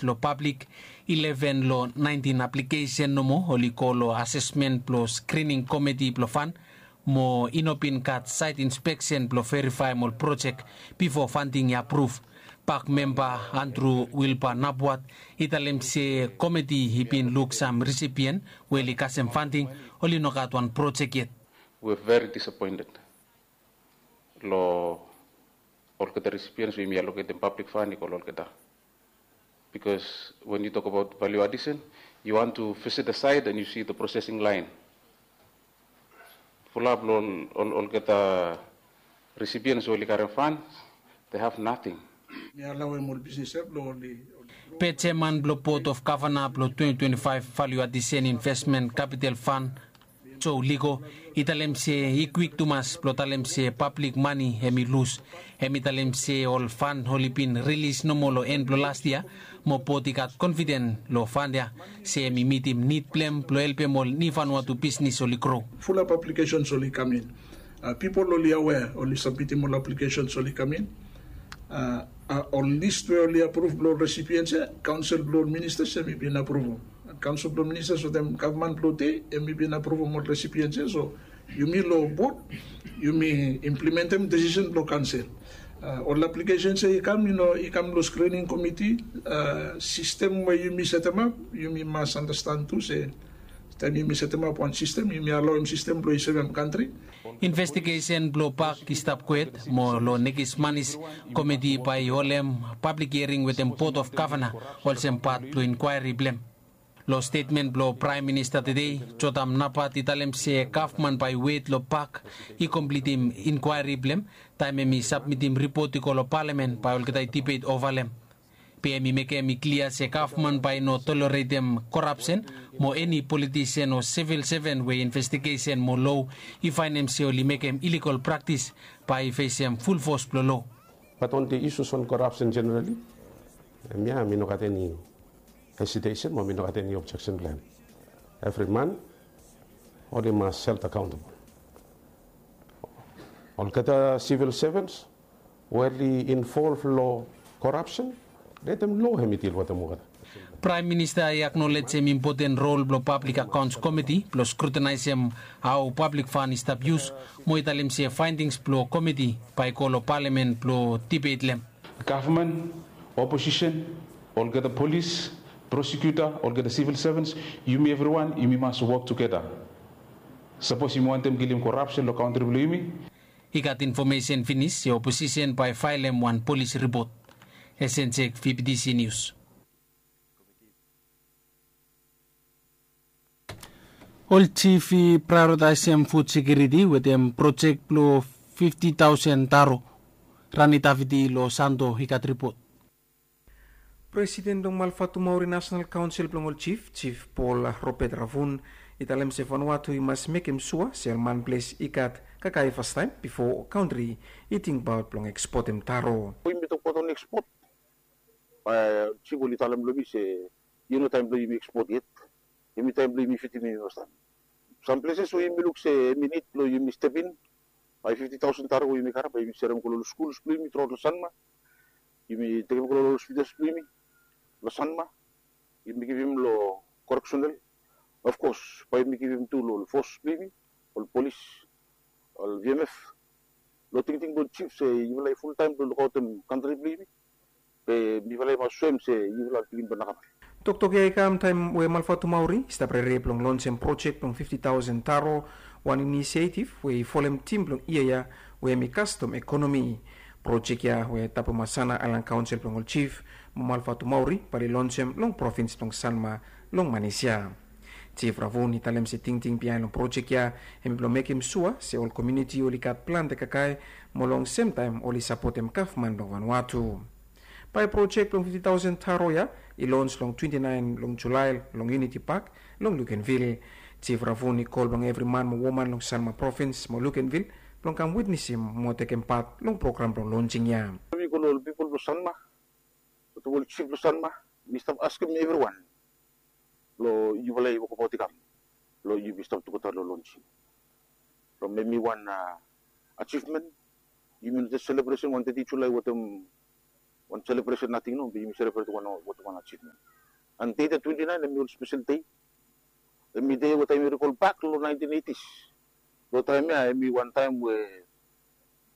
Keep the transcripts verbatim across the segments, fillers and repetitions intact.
Long pablik, ileven long naentin aplikesen nomo oli go long asesmen blong skrining komiti blong fan, mo i no bin gat saet inspeksen blong verifaem ol projek bifo fanting i apruv. Pak memba Andrew Wilbur Napwat i talem se komiti i bin luk sam risipien we oli kasem fanting, oli no gat wan projek yet. We're very disappointed long olgeta recipients we yumi allocatem public fund i go long olgeta. Because when you talk about value addition, you want to visit the site and you see the processing line. Fulap long olgeta recipients we oli karem fund, they have nothing. Mi allow em ol business ya blong oli. Pe jeman blong Board of Governor blong twenty twenty-five Value Addition Investment Capital Fund, Joe Ligo, i talem se i kwik tumas blong talem se pablik mane hemi lus. Hemi talem se ol fan oli bin rilis nomo long en blong las yia, mo bot i gat konfiden long fan ya se hemi mitim nid blong hem blong helpem ol niu Vanuatu bisnis oli gro. Fulap aplikesens oli kam in. Pipol oli awea, oli sabmitim ol aplikesens oli kam in. Ol lis we oli apruv blong ol resipiens ya, kaonsel blong ol ministas hemi bin apruvum. Kaonsel blong ministas wetem gavman blong dei hemi bin apruvum ol resipiens ya. So yumi long bot yumi implimentem desisen blong kaonsel. Ol aplikesens ya i kam, i kam long skrining komiti. Sistem we yumi setemap, yumi mas anastan tu se taem yumi setemap wan sistem, yumi alaoem sistem blong i sevem kantri. Investigesen blong pak i stap kwet, mo long nekis manis komiti bae i holem pablik hiering wetem Board of Governor olsem pat blong inkwaeri blong hem. Long stetmen blong Praem Minista tede, Jotam Napat i talem se gavman bae i wet long pak i komplitim inkwaeri blong hem. Taem hemi sabmitim ripot i go long palamen bae olgeta i dibet ova long hem. Be hemi mekem i klia se gavman bae i no toleretem korapsen, mo eni politisen o sivil seven we investigesen mo loa i faenem se oli mekem iligal praktis bae i fesem fulfos blong loa. Bat on the issues on corruption generally, hemia mi no gat eni hesitation mo mi no gat eni objeksen blong hem. Evri man oli mas held accountable. Olgeta sivil sevens we oli involv long korapsen, letem loa hemi dil wetem olgeta. Praem Minista i aknolejem impoten rol blong Pablik Akaons Komiti blong skrutinaesem hao pablik fan i stap yus, mo i talem se faendings blong komiti bae i go long palamen blong dibet long hem. Gavman, oposisen, olgeta polis, prosekuta, olgeta sivil sevens, yumi evriwan yumi mas wok tugeta. Sapos yumi wantem kilim korapsen long kantri blong yumi, I gat infomesen finis se oposisen bae i faelem wan polis ripot. Esenjek, V B T C News. Ol jif i praeoritaesem fud sekiriti wetem projek blong fifti taosen taro. Rani Davidi long Santo i gat ripot. Presiden blong Malvatumauri Nasenal Kaonsel blong ol Jif, Jif Paul Robert Ravun, i talem se Vanuatu i mas mekem sua se ol manples i gat kakae fastaem bifo kantri i tingbaot blong ekspotem taro. Yumi tokbaot ol ekspot, bae Jif oli talem long yumi se i no taem blong yumi ekspot yet. Hemi taem blong yumi fidim yumi fastaem. Sam pleses we yumi luk se hemi nid blong yumi step in, bae fifti taosen taro we yumi karem bae yumi serem go long ol skuls blong yumi truaot long Sanma. Yumi tekem go long ol hospitals blong yumi long Sanma. Yumi givim long koreksenal. Ofkos bae yumi givim tu long ol fos blong yumi, ol polis, ol V M F. Long tingting blong jif se yufala i fultaem blong lukaotem kantri blong yumi. Be mifala i mas soem se yufala pikinini blong nakamap. Toktok ya i kam taem we Malvatumauri i stap rere blong lonsem projek blong fifti taosen taro, wan inisiaetiv we i folem tim blong yia ya we hemi kastom ekonomi. Projek ya we Tabumasana Aelan Kaonsel blong ol Jif mo Malvatumauri bae oli lonsem long provins blong Sanma long manis ya. Jif Ravun i talem se tingting biaen long projek ya hemi blong mekem sua se ol komuniti oli gat plante kakae mo long semtaem oli sapotem gavman blong Vanuatu. Bae projek blong fifti taosen taro ya i lons long twenti naen long Julae long Uniti Pak long Lukenvil. Jif Ravun i kol blong evri man mo woman long Sanma provins mo Lukenvil blong kam witnesim mo tekem pat long program blong lonsing ya. Mi kol ol pipol blong Sanma, wetem ol jif blong Sanma, mi stap askem evriwan blong yufala i wokabaot i kam blong yumi stap tugeta long lonsing. From hemi wan ajivmen, yumi no jes selebresen wan teti Julae wetem Wan selebresen nating nao be yumi selebret wan, wan achivmen. And dei de twenti naen hemi ol spesel dei. Hemi dei we taem yu rikolbak long naentin eitis. Long taem ya hemi wan taem we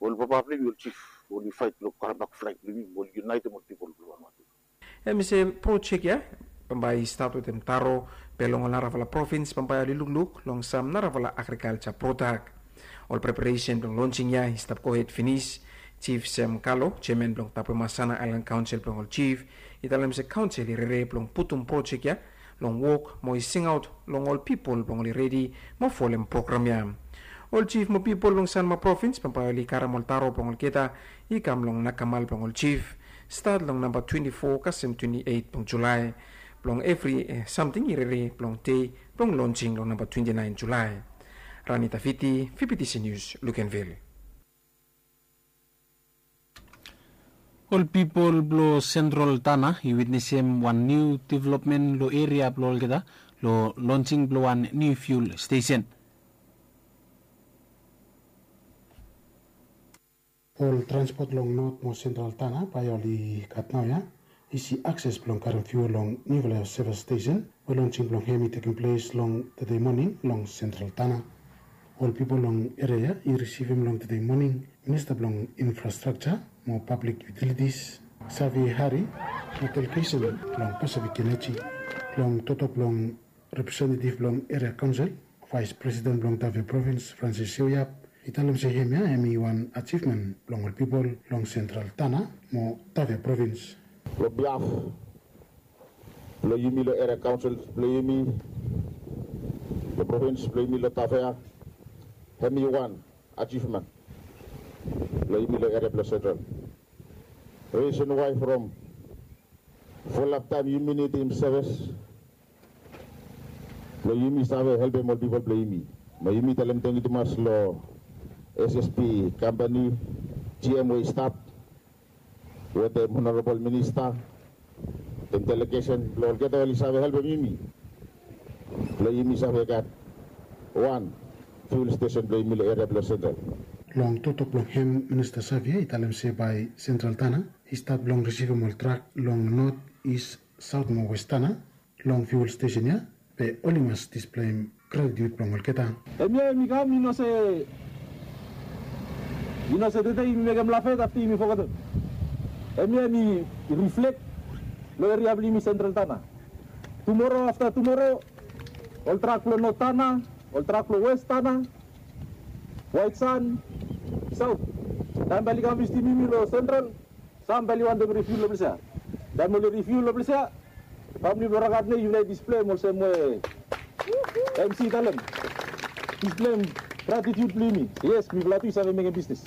ol papa blong yumi, ol jif, oli faet blong karembak flag blong yumi, oli yunaetem ol pipol blong Vanuatu. Hemi se projek ya bambae i stat wetem taro be long ol narafala provins bambae oli lukluk long sam narafala agrikalja prodak. Ol preparesen blong lonsing ya i stap gohed finis. Jif Sem Kalo, jeaman blong Tapemasana Aelan Kaonsel blong ol Jif, i talem se kaonsel i rere blong putum projek ya long wok mo i singaot long ol pipol blong oli redi mo folem program ya. Ol jif mo pipol blong Sanma provins bambae oli karem ol taro blong olgeta i kam long nakamal blong ol jif, stat long namba twenti fo kasem twenti eit blong Julae. Blong evri samting i rere blong dei blong lonsing long namba twenti naen Julae. Rani Tafiti, Fibitisi Nius, Lukenvil. Ol pipol blong Sentral Tana i witnesem wan niu developmen long eria blong olgeta long lonsing blong wan niu fiul stesen. Ol transpot long Not mo Sentral Tana bae oli gat naoia isi akses blong karem fiul long niufala sevis stesen we lonsing blong hem i tekem ples long tede moning long Sentral Tana. Ol pipol long eria ya i risivim long tede moning Minista blong Infrastrakja mo Pablik Yutilitis, Xavier Hari, mo delegesen blong Pacific Energy. Long toktok blong representetiv blong eria kaonsel, vaes presiden blong Tafea provins, Francis Seuiap, i talem se hemia hemi wan ajivmen blong ol pipol long Sentral Tana mo Tafea provins. Long biaf blong yumi long eria kaonsel blong yumi long provins blong yumi long Tafea, hemi wan ajivmen blong yumi long eria blong Sentral. Risen wae from fulap taem yumi nidim sevis blong yumi save helpem ol pipol blong yumi. Mo yumi talem tangkiu tumas long S S P kampani, G M we i stap wetem Honorabol Minista, wetem delegesen blong olgeta oli save helpem yumi blong yumi save gat wan fiul stesen blong yumi long eria blong Sentral. Long toktok blong hem, Minista Xavier i talem se bae Sentral Tana i stat blong risivim ol trak long Not, Is, Saot mo Wes Tana long fiul stesen ya, be oli mas displeim gratitiud blong olgeta. Hemia hemi kam, i no se, i no se tede yumi mekem lafet afta yumi fogetem. Hemia hemi riflek long eria blong yumi Sentral Tana. Tumoro, afta tumoro, ol trak blong Not Tana, ol trak blong Wes Tana, Waet San, Saot, taem bae oli kam visitim yumi long Sentral, sam bae oli wantem rifiul long ples ya. Taem oli rifiul long ples ya, famili blong Rakat ne yufala i displeim olsem we M C i talem, displeim gratitiud blong yumi. Yes, mifala tu i save mekem bisnis.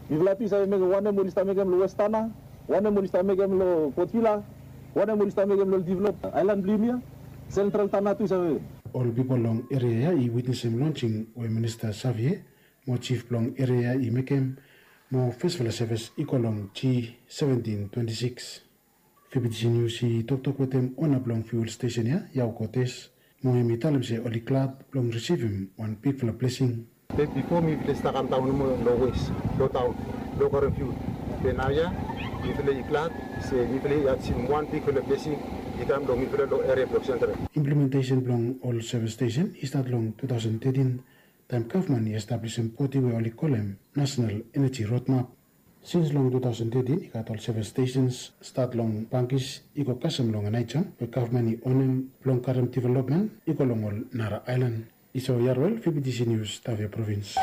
Mifala tu i save mekem wanem oli stap mekem long Wes Tana, wanem oli stap mekem long Port Vila, wanem oli stap mekem long develop aelan blong yumi ya, Sentral Tana tu i save mekem. Ol pipol long eria ya i witnesem lonsing we Minista Xavier mo jif blong eria ya i mekem, mo fesfala sevis i go long G seventin twenti sikis. Fibitisi Nius i toktok wetem ona blong fiul stesen ya, Yao Kotes, mo hemi talem se oli glad blong risivim wan bigfala blesing. Be bifo mifala i stap kamdaon nomo long Wes, long taon, long karem fiul. Be naoia mifala i glad se mifala i ajivim wan bigfala blesing i kam long mifala long eria blong Sentral. Implementesen blong ol sevis stesen i stat long tu taosen tetin, taem gavman i establisim bodi we oli kolem National Energy Roadmap. Sins long tu taosen tetin i gat ol sevis stesens, stat long Bangis i go kasem long Aneityum we gavman i onem blong karem developmen i go long ol nara aelan. Isao Yarwel, Fibitisi Nius, Tafea provins.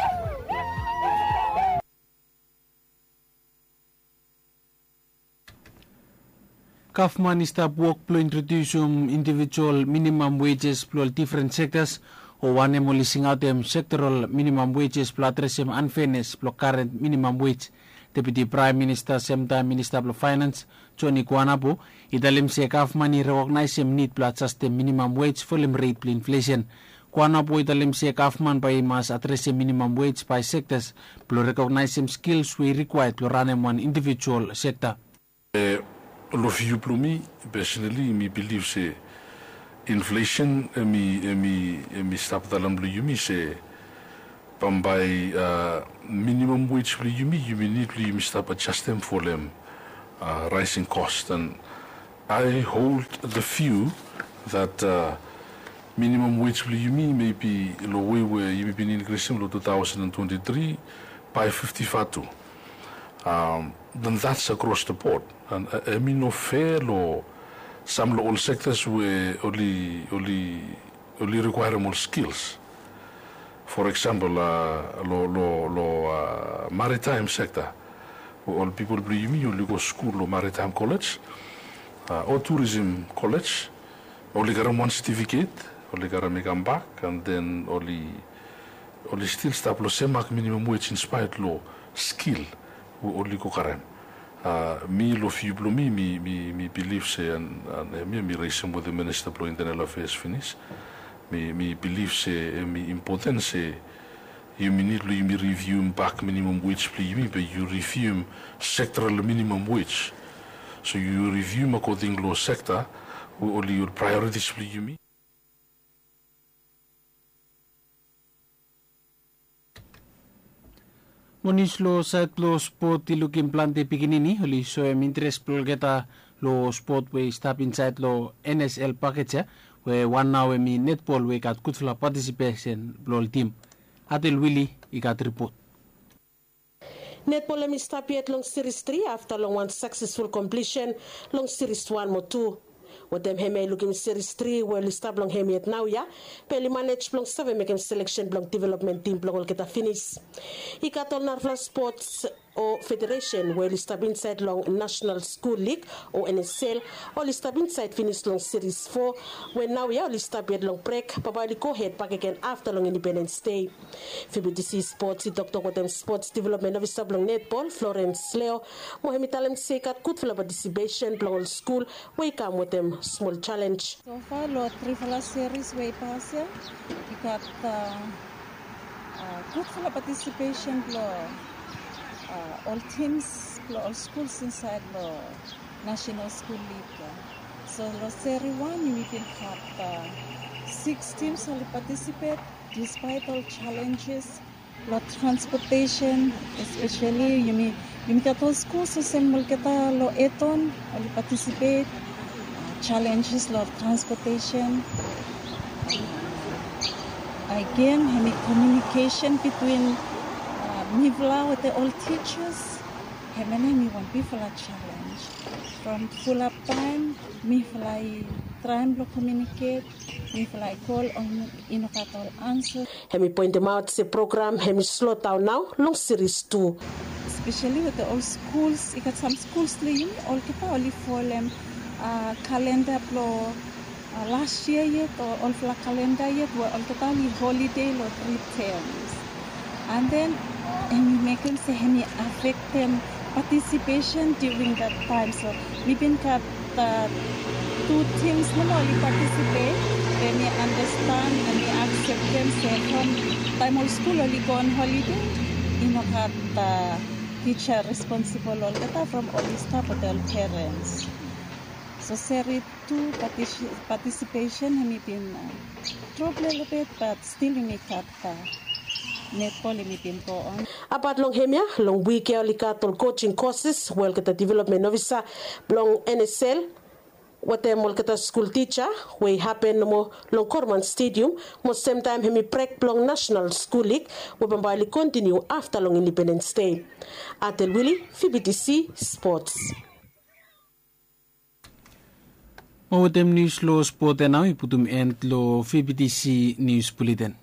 Gavman i stap wok blong introdiusim indivijual minimam wejes blong ol difren sektas, o wanem oli singaotem sektoral minimam wejes blong adresem anfenes blong karen minimam wej. Deputi Praem Minista, semtaem Minista blong Faenans, Joni Kuanapo, i talem se gavman i rekognaesem nid blong ajastem minimam wej folem ret blong inflesen. Kuanapo i talem se gavman bae i mas adresem minimam wej bae sektas blong rekognaesem skils we i rikwaed blong ranem wan indivijual sekta. Long viu blong mi, pesonali mi bilif se inflesen hemi, hemi, hemi stap daon long yumi se bambae minimam wej blong yumi, yumi nid blong yumi stap ajastem folem Rising cost, and I hold the view that minimum wage blong yumi maybe long wei we yumi bin inkrisim long two thousand and twenty-three by fifty vatu. Then that's across the board, and hemi no fair long sam long ol sectors we oli oli oli requirem ol skills. For example, long long long maritime sector, we ol pipol blong yumi oli go skul long maritime college o tourism college, oli karem wan certificate, oli karem i kambak, and then oli oli stil stap long sem mak minimum wage in spite long skill we oli go karem. Mi long view blong mi mi mi bilif se, and hemia mi resem wetem minista blong internal affairs finis. Mi mi bilif se hemi impoten se yumi nid blong yumi rivium bak minimum wage blong yumi, be yu rivium sectoral minimum wage. So yu rivium akoding long sekta we oli ol priorities blong yumi. Mo nius long saed blong spot i lukim plante pikinini oli soem interes blong olgeta long spot we i stap insaed long N S L paket ya, we wan nao hemi netbol we i gat gudfala patisipesen blong ol tim. Adel Wili i gat ripot. Netbol hemi stap yet long siris tri afta long wan saksesful komplisen long siris wan mo tu. Wetem hemia i lukim siris tri we oli stap long hem yet naoia, be oli manej blong save mekem seleksen blong developmen tim blong olgeta finis. I gat ol narafala spots o federesen we oli stap insaed long Nasenal Skul Lig o N S L, oli stap insaed finis long siris fo, we naoia oli stap yet long brek, bambae oli gohed bakegen afta long Independens Dei. Fibitisi Spots i toktok wetem spots developmen ofisa blong netbol, Florens Leo, mo hemi talem se i gat gudfala patisipesen blong ol skul we i kam wetem smol jalenj. Sofa long trifala seris we i pas ya, i gat gudfala patisipesen blong ol tims blong ol skuls insaed long Nasenal Skul Lig ya. So long seri wan yumi bin gat siks tims oli patisipet. Dispaet ol jalenjes long transpotesen, espeseli yumi yumi gat ol skuls olsem olgeta long Eton oli patisipet. Jalenjes long transpotesen. Agen hemi komiunikesen bitwin mifala wetem ol tijas. Hemia nao hemi wan bigfala jalenj. From fulap taem mifala i traem blong komiuniket, mifala i kol, i no gat ol ansa. Hemi poentemaot se program hemi slodaon nao long siris tu. Espeseli wetem ol skuls, i gat sam skuls long yumi olgeta oli folem kalenda blong las yia yet o olfala kalenda yet we olgeta oli holide long tri tems. And then hemi mekem se hemi afektem patisipesen during that time. So mi bin gat tu tims nomo oli patisipet, be mi andastan, be mi akseptem se from taem ol skul oli go on holide, i no gat tija responsibol olgeta from oli stap wetem ol perens. So seri tu patisipesen hemi bin drop lelebet, bat stil yumi gat netbol hemi bin go on. Apat long hemia, long wik ya oli gat ol kojing koses we olgeta developmen ofisa blong N S L wetem olgeta skul tija we i hapen nomo long Korman Stedium, mo semtaem hemi brek blong Nasenal Skul Lig we bambae oli kontiniu afta long Independens Dei. Atel Wili, V B T C Spots. Mo wetem nius long spot ya nao i putum en long V B T C Nius Buleten.